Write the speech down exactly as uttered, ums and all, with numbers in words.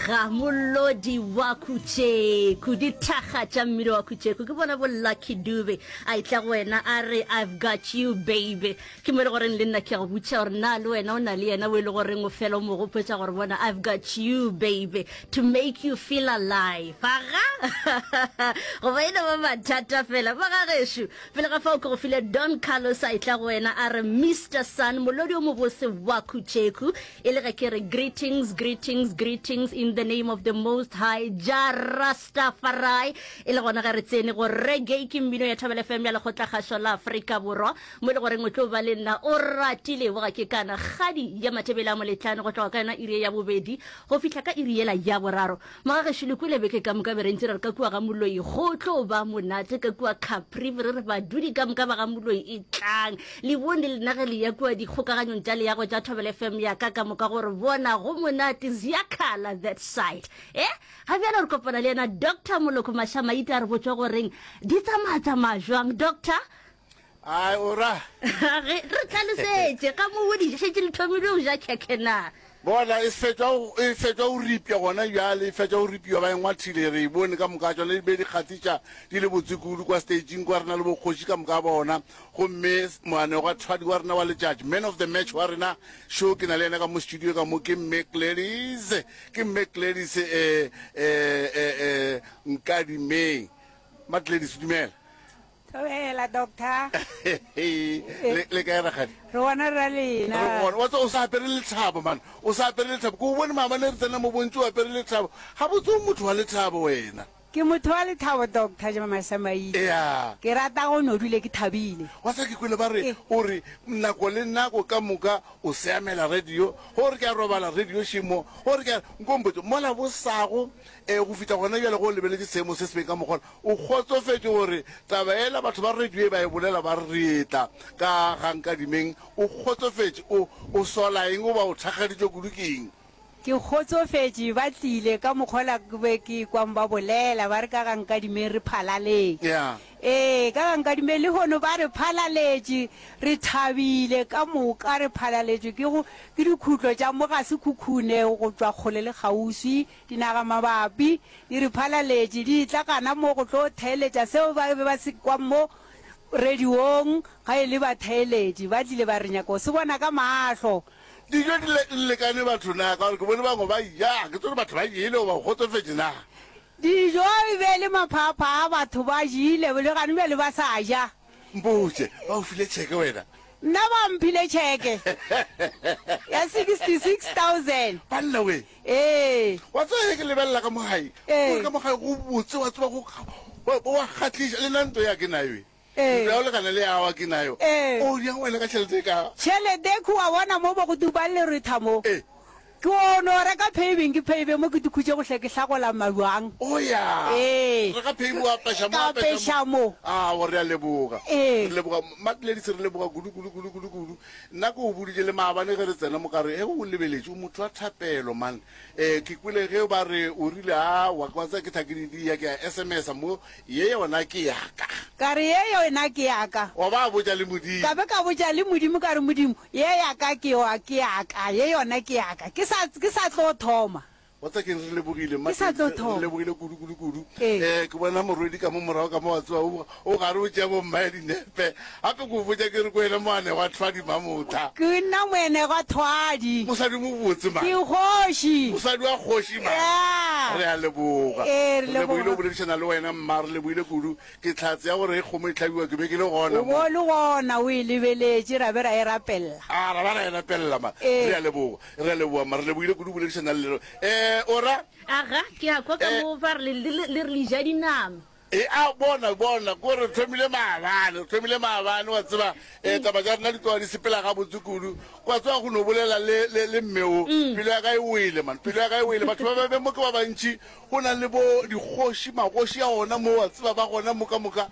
Aga molodi wa Khutšeku, dithaga tša mmino wa Khutšeku ke bona bo Lucky Dube a etla go wena a re I've got you baby. Ke mo e le goreng le nna ke a go botša gore na le wena o na le yena o e le goreng o fela o mo gopotša gore bona I've got you baby to make you feel alive. Aga goba e no ba mathata fela ba ga gešo. Pele ga fao ke go file Don Carlos a etla go wena a re Mister Sun molodi o mobose wa Khutšeku e le ge ke re greetings greetings greetings in the name of the most high Jah Rastafari e le gona ge re tsene go reggae ke mmino ya Thobela F M ya Lekgotlakgašo la Afrika Borwa mo e le goreng o tlo ba le nna o ratile boga ke kana kgadi ya Mathebele a Moletlane go tloga ka yona iri ya bobedi go fihla ka iri yela ya boraro. Mogagešo le kwele beke ka moka be re ntše re re ka kua ga Moloi go tlo ba monate ka kua Caprivi re re badudi ka moka ba ga Moloi e tlang le bone le nna ge le ya kua dikgokaganyong tša leago tša Thobela F M ya ka ka moka gore bona go monate ziyakhala that side e ga bjale re kopana le yena Doctor Moloko Mashamaite a re botša goreng di tsamaya-tsamaya jwang doctor. Ai ora. Ge re tlhalosetše ka mo o di šetše le thomile go ja khekhe na? Bona e fetša go e fetša go ripša gona bjale, e fetša go ripiwa ba e ngwathile, re e bone ka moka tšona di be di kgahliša di le botse kudu kwa staging kwa re na le bokgoši ka moka bona. Gomme moanegwathwadi wa rena wa letšatši, man of the match wa rena, šo ke na le yena ka mo studio ka mo, ke Mme Gladys, ke Mme Gladys eh eh eh eh Nkadimeng. Mma Gladys, dumela. Thobela, doctor. Le le kae rakgadi? Re gona ra lena. Re gona. Wa tseba o sa apere lethabo man. O sa apere lethabo. Ke o bone maabane re tsena mo bontši o apere lethabo. Gabotse o motho wa lethabo wena. Ke motho wa lethabo doctor Mašamaite. Ea. Ke rata go no dule ke thabile. Wa tseba ke kwele ba re o re nako le nako ka moka o seamela radio. Go re ke a robala radio šemo. Go re ke a nko mpotše mola bosago eh go fihla gona bjale go lebeletše seemo se se beng ka mokgwa o kgotsofetše gore taba yela batho ba radio e ba e bolela ba re re etla ka ga Nkadimeng o kgotsofetše o o sola eng goba o thakgaditšwe kudu ke eng? Ke kgotsofetše ba tlile ka mokgwa ke be ke kwang ba bolela ba re ka ga Nkadimeng re phalaleng. Yeah. Ee, ka ga Nkadimeng lehono ba re phalaletše re thabile ka moka re phalaletšwe ke go ke dikhutlo tša mo ga Sekhukhune go tšwa kgole le kgauswi Dinagamabapi di re phalaletše, di etla gana mo go tlo theeletša seo ba be ba se kwa mo radiong. Ga e le batheeletši, ba tlile ba re nyaka go se bona ka mahlo. Dijo di le lekane batho na? Ka gore ke bone bangwe ba ja, ke tsebe gore batho ba jele goba go kgotsofetše na? Dijo e be e le maphaaphaa, batho ba jele, le gane bjale ba sa ja. Mpotše, ba go file tšheke wena? Nna ba mphile tšheke ya sixty six thousand. Banna we! Ee. Wa tseba ge ke lebelela ka mo gae, Ee. gore ka mo gae go botse, wa tseba go, wa wa kgahliša. Le nna ntlo ya ke nayo e. Ee. Ntlo ya go lekana le ya wa ke nayo. Ee. O diang wena ka tšhelete e ka? Tšhelete e wa bona mo bo go dubang leretha mo. Ee. Ke o no reka paving, ke pave mo ke dikhutše gohle ke hlagola mabjang. O ya. Ee. Reka paving wa apeša mo, Ka apeša apeša mo. Aowa, re a leboga. Ee. Re leboga Mmatledi, re leboga kudu, kudu, kudu, kudu, kudu. Nna ke o boditše le maabane ge re tsena mo ka re, Ge o lebeletše, o motho wa thapelo man. Eh, ke kwele ge ba re o rile, Aowa, wa tseba ke tla ke di dia, ke a S M S-a mo, ye yona ke ya ka. Ka re, Ye yona ke ya ka. Wa ba botša le Modimo. Ka be ka botša le Modimo ka re, Modimo, ye ya ka ke yo, ke ya ka, ye yona ke ya ka. Ke sa, ke sa tlo thoma. Wa tseba keng, re lebogile, Ke sa tlo Mma, re thoma. lebogile kudu, kudu, kudu. Ee. Eh, ke bona morwedi ka mo morago ka mo, wa tseba, o, o gare o tšea bommae dinepe. Gape ke o botša ke re ke wena moanegwathwadi Mamotha. Ke nna moanegwathwadi. Mosadi mobotse, man. Ke kgoši. Mosadi wa kgoši, man. Yeah. Re a leboga. Ee, re Re lebogile leboga. go boledišana le wena, mma, re lebogile kudu. Ke hlatse ya gore ge kgomo e hlabiwa ke be ke le gona O mo. bo o le gona, o e lebeletše, ra be ra e rapelela. A ra ba ra e rapelela, ma. Ee. Re a leboga. Re a leboga, ma. Re lebogile kudu go boledišana le lena. Eh, o ra? Aga, ke a kwa ka Eh. mo ba re le, le, le re le ja dinama. E, a, bona, bona, ko re thomile maabane, re thomile maabane, wa tseba, eh, taba tša rena di tloga di sepela gabotse kudu. Wa tseba go no bolela le, le, le mme o, pelo ya ka e wele, man, pelo ya ka e wele. Batho ba ba be mo ke ba bantši, go na le bo dikgoši, magoši a ona mo, wa tseba, ba gona mo ka moka.